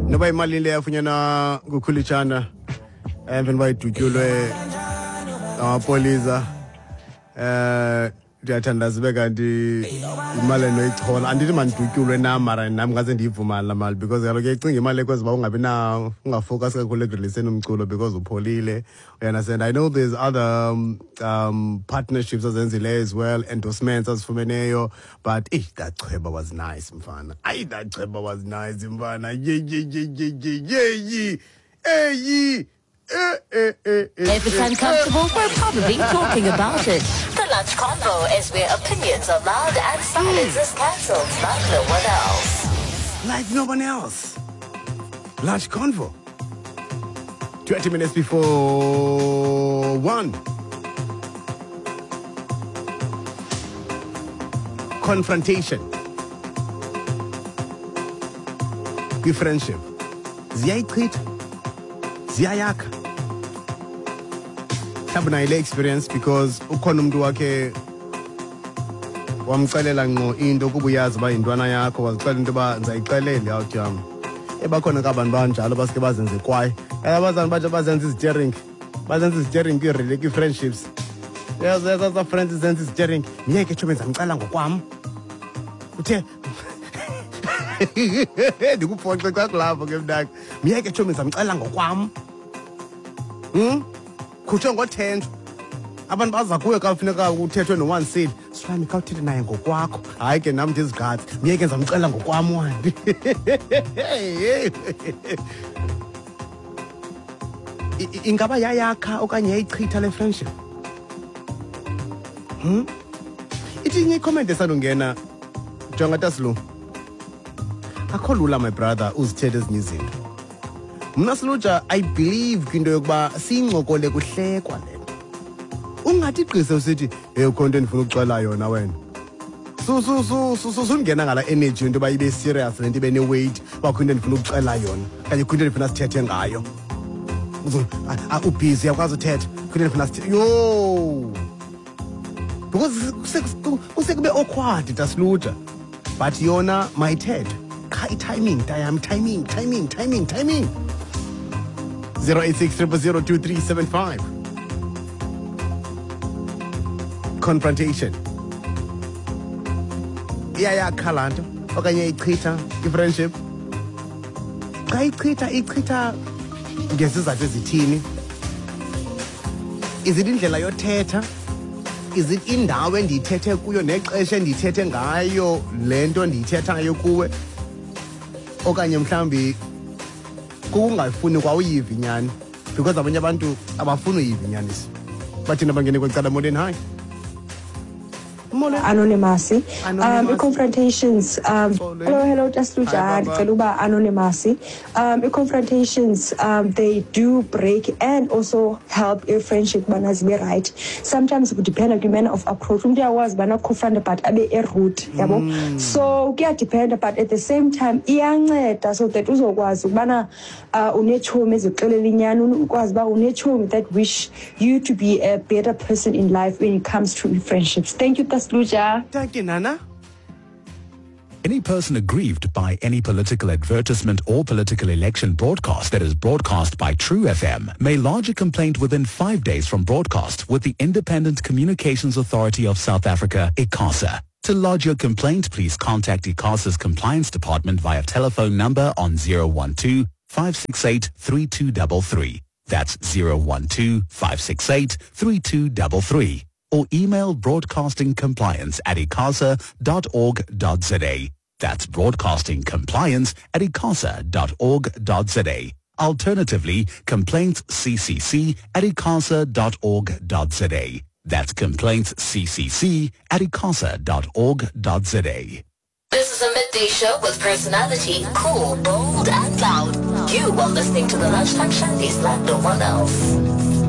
Noba imali le yafunyanwa nguKhulitshana emveni uba idutyulwe ngamapolisa, ndiyathandaza ibe kanti imali enoyichola. Andithi mandidutyulwe nam, mara nam ngaze ndiyivumane laa mali, because kaloku uyayicinga imali ekwenza uba ungabi na ungafocus kakhulu ekureleaseni umculo because upholile, you understand? I know there's other partnerships azenzileyo as well, endorsements azifumeneyo, but eh, that chweba was nice, mfana. Ayi, that chweba was nice, mfana. Ye ye ye ye ye ye ye eyi eh eh eh eh. If it's uncomfortable, we're probably talking about it. The Lunch Convo is where opinions are loud and silence is cancelled like no one else. Like no one else. Lunch Convo. 20 minutes before 1. Confrontation. Kwi-friendship. Ziyayichitha. Ziyayakha. Mhlawumbi nayo le experience, because ukhona umuntu wakhe wamxelela ngqo into kuba uyazi uba yintwana yakho, wazixelela into yoba ndizayixelela out yam. Ebakhona ke abantu banjalo baske bazenze kwaye abazali batsho bazenza izitering, bazenza izitering kwii-friendships. Yaza friends zenza izitering, myeke tsho, benzamxela ngokwam, uthe ndikuphoxe xa kulapho ke mntaka, myeke tsho, benzamxela ngokwam. Khutshwe ngothenjwa abantu baza kuwe xa kufuneka kuthethwe nowansile silami, khawuthethe naye ngokwakho. Hayi ke, nam ndizigqatsi, myeke, ndizamxela ngokwam wandi. Ingaba yayakha okanye yayichitha le friendship? Ithi inye icomment esandungena, jonga tasilu, akho lula, my brother, uzithethe ezinye izinto. Mna siluja, I believe kwinto yokuba siyincokole kuhlekwa le nto. Ungathi gqise usithi, "Hey, ukho nto endifuna ukuxela yona wena." Sungena ngala energy into yoba ibe serious le nto, ibe ne-weight, uba kho into endifuna ukuxela yona okanye kho into endifuna sithethe ngayo. Ubhizi, uyakwazi uthetha, kho into endifuna sithethe yho, because kusekube awkward, tasiluja, but yona mayithethe qha i-timing tayam, timing, timing, timing, timing. 086 000 2375. Confrontation, iyayakha laa nto okanye ichitha i-friendship? Xa ichitha, ichitha ngezizathu ezithini? Is it indlela yothetha? Is it indawo endiyithethe kuyo nexesha endiyithethe ngayo le nto ndiyithethayo kuwe, okanye mhlawumbi kukungayifuni kwawuyiva inyani? Because abanye abantu abafuni uyiva inyaniso. Bathina bangene kwecala. Molweni, hi. Molweni. Anonymous. Anonymous. I-confrontations, Xolweni. Hello, hello, Hi, Tasluja. Baba. Ndicela uba anonymous. I-confrontations, they do break and also help i-friendship ubana zibe right. Sometimes kudependa kwi-manner of approach. Umntu uyakwazi ubana confronte but abe erude, yabo. So kuyadependa, but at the same time iyanceda so that uzokwazi ukubana unetshomi ezikuxelela inyani, ukwazi uba unetshomi that wish you to be a better person in life when it comes to friendships. Thank you, Tasluja. Thank you, Nana. Any person aggrieved by any political advertisement or political election broadcast that is broadcast by True FM may lodge a complaint within 5 days from broadcast with the Independent Communications Authority of South Africa, ICASA. To lodge your complaint, please contact ICASA's compliance department via telephone number on 012 568 3233. That's 012 568 3233. Or email broadcastingcompliance@icasa.org.za. That's broadcastingcompliance@icasa.org.za. Alternatively, complaintsccc@icasa.org.za. That's complaintsccc@icasa.org.za. This is a midday show with personality, cool, bold, and loud. You are listening to the Lunchtime Shandies like no one else.